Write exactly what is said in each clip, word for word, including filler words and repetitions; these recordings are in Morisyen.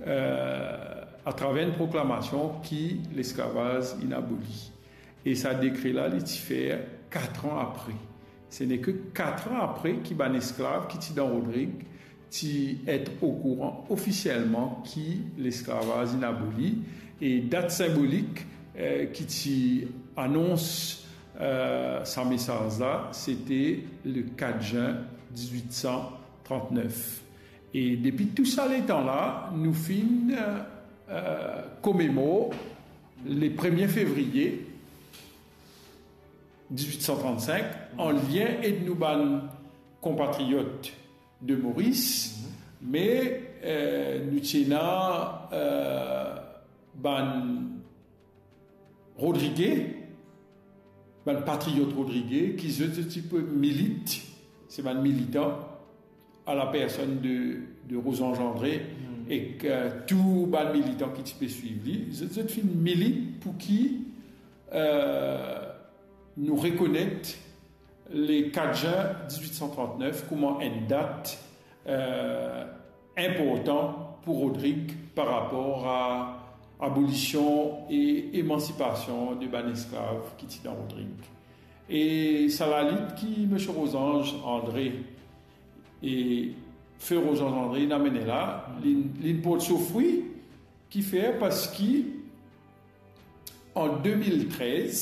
euh, atraver enn proklamasion ki lesklavaz inn aboli. E sa dekre la, li ti fer kat an apre. Se neke kat an apre ki bann esklav ki ti dan Rodrig ti et okouran ofisielman ki lesklavaz inn aboli. E dat sinbolik, eh, ki ti anons, eh, sa mesaz la, sete le kat zin diz-wit san trant-nef. E depi tou sa letan la, nou finn, eh, eh, komemor le premie fevriye diz-wit san trant-sink, an lien ek nou bann konpatriot de Moris, me, eh, nou ti ena, eh, bann Rodrige, bann patriot Rodrige, ki zot, zot ti pe milit, se bann militan, a la personn de, de Rosange André, ek, eh, tou bann militan ki ti pe swiv li, zot, zot finn milit pou ki, eh, nou rekonet le kat zin diz-wit san trant-nef kouma enn dat, eh, inportan pou Rodrig par rapor a abolision e emansipasion de bann esklav ki ti dan Rodrig. E sa lalit ki Misie Rosange André e Fe Rosange André inn amene la, li, li port so fri, kifer, parski an de mil trez,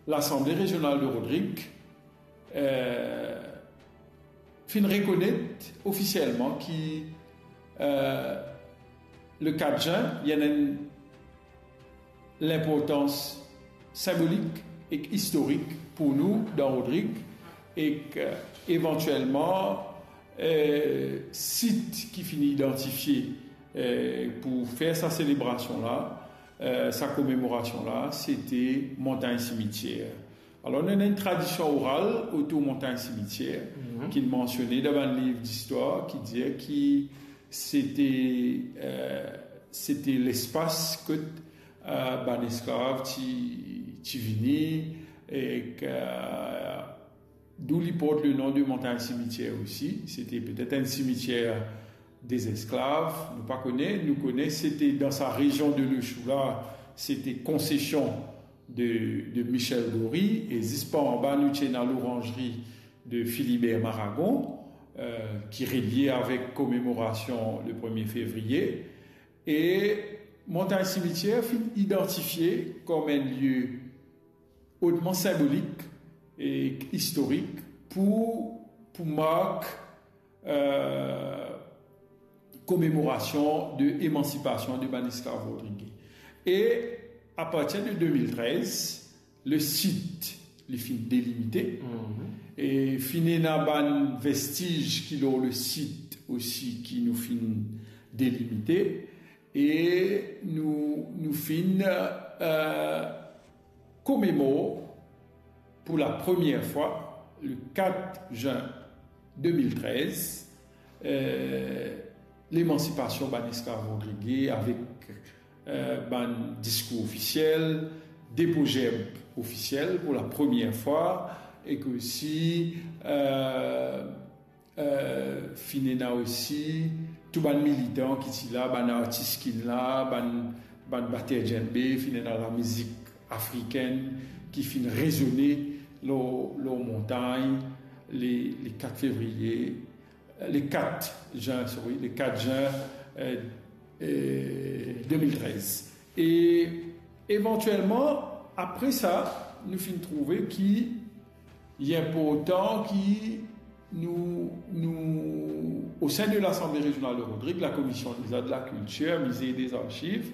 Lasanble Rezional de Rodrig, eh, finn rekonet ofisielman ki, eh, le kat zin, li ena enn linportans sinbolik ek istorik pou nou dan Rodrig, ek, eh, evantielman, eh, sit ki finn idantifie, eh, pou fer sa selebrasion la, eh, sa komemorasion la, sete Montagn Simitier. Alor, nou ena enn tradision oral otour Montagn Simitier, ki mansione dan bann liv distwar, ki dir ki sete, eh, sete lespas kot, eh, bann esklav ti, ti vini, ek, eh, dou li port le non de Montagn Simitier osi. Sete petet enn simitier de zesklav, nou pa kone. Nou kone sete dan sa rezion de Le Chou la, sete konsesion de, de Michel Gory, e zis par anba nou ti ena loranzri de Philibert Maragon, eh, ki relie avek komemorasion le premie fevriye. E Montagn Simitier finn idantifie kom enn lie otman sinbolik e istorik pou, pou mark, eh, komemorasion de emansipasion de bann esklav Rodrig. E apartir de de mil trez, le sit, li finn delimite. E finn ena bann vestiz ki lor le sit osi ki nou finn delimite. E nou, nou finn, eh, komemor pou la premie fwa, le kat zin de mil trez, eh, lemansipasion bann esklav Rodrig avek, eh, bann diskour ofisiel, depo zerb ofisiel pou la premie fwa, ek osi, eh, eh, finn ena osi tou bann militan ki ti la, bann artis ki la, bann, bann bater djembe, finn ena lamizik afrikenn ki finn rezone lor, lor montagn, le, le kat fevriye, le kat zin, sorry, le kat zin, eh, eh, de mil trez. E evantielman, apre sa, nou finn trouve ki li inportan ki nou, nou, o sin de Lasanble Rezional de Rodrig, la Komision deza de la Kiltir, Mize e dez Arziv,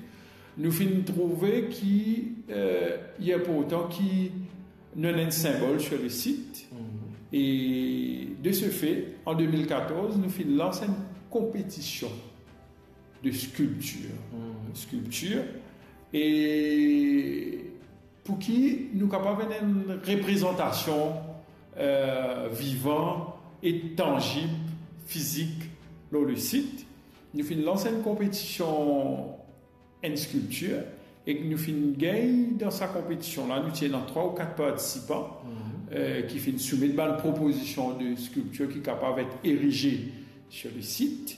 nou finn trouve ki, eh, li inportan ki nou ena enn sinbol sur le sit. E de se fe, an de mil katorz, nou finn lans enn konpetision de skilptir. Skilptir. E pou ki nou kapav ena enn reprezantasion, eh, vivan e tanzib, fizik, lor le sit. Nou finn lans enn konpetision enn skilptir, ek nou finn gagn dan sa konpetision la, nou ti ena trwa ou kat partisipan, eh, ki finn soumet bann propozision de skilptir ki kapav et erize sur le sit.